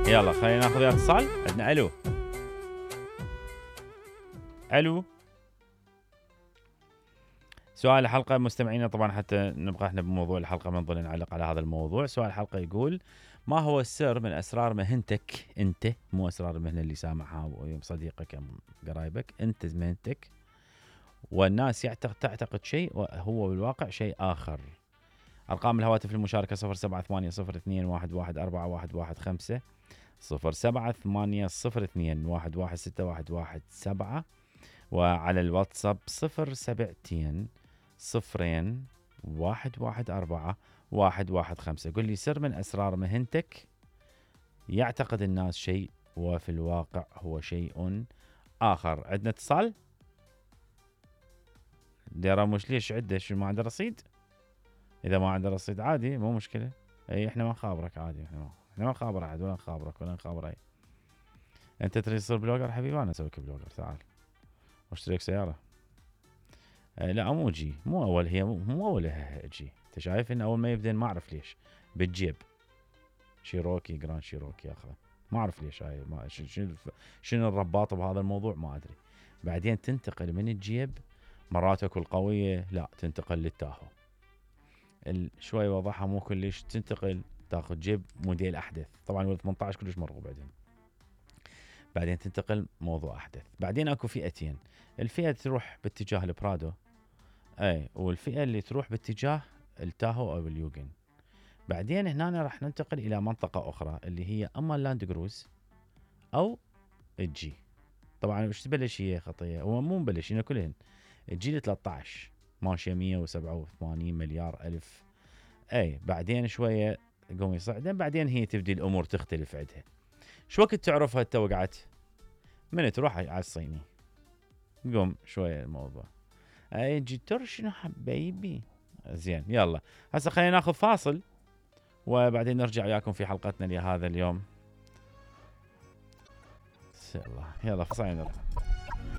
يلا خلينا ناخذ ويا اتصال. عندنا الو. الو. سؤال الحلقة مستمعينا طبعا حتى نبقى احنا بموضوع الحلقة ما نظل نعلق على هذا الموضوع. سؤال الحلقة يقول: ما هو السر من اسرار مهنتك انت، مو اسرار المهنة اللي سامعها صديقك ام قرايبك، انت مهنتك والناس تعتقد شيء وهو بالواقع شيء اخر. ارقام الهواتف للمشاركة 0780211415 0780211617 وعلى الواتساب 07200114115. قل لي سر من أسرار مهنتك يعتقد الناس شيء وفي الواقع هو شيء آخر. عندنا اتصال. ديرا مش ليش عده شو ما عنده رصيد؟ إذا ما عنده رصيد عادي مو مشكلة. أي إحنا ما نخابرك عادي، إحنا ما نخابر أحد ولا نخابرك ولا نخابر أي. أنت تريد تصير بلوجر حبيبي؟ أنا أسويك بلوجر، تعال واشتريك سيارة. لا مو جي، مو أول، هي مو أولها جي. أنت شايف إن أول ما يبدأ ما أعرف ليش بالجيب شيروكي جراند شيروكي أخذه، ما أعرف ليش هاي، ما شنو الرباط بهذا الموضوع ما أدري. بعدين تنتقل من الجيب مرات اكو القوية، لا تنتقل للتاهو شوي وضعها مو كلش، تنتقل تاخذ جيب موديل احدث، طبعا وال 18 كلش مرغوب. بعدين تنتقل موضوع احدث. بعدين اكو فئتين، الفئة تروح باتجاه البرادو اي، والفئة اللي تروح باتجاه التاهو او اليوجن. بعدين هنا راح ننتقل الى منطقة اخرى اللي هي اما اللاند كروز او الجي. طبعا وش تبلش هي خطية، هو مو مبلش هنا كلهن الجيل 13 ماشية 187 مليار ألف اي. بعدين شوية قوم يصعدن، بعدين هي تبدي الامور تختلف عندها. شو وقت تعرفها انت وقعت؟ من تروح على الصيني قوم شوية الموضوع اي جي ترشنو حبيبي. زين يلا هسه خلينا ناخذ فاصل وبعدين نرجع وياكم في حلقتنا لهذا اليوم. يلا فاصل نرجع.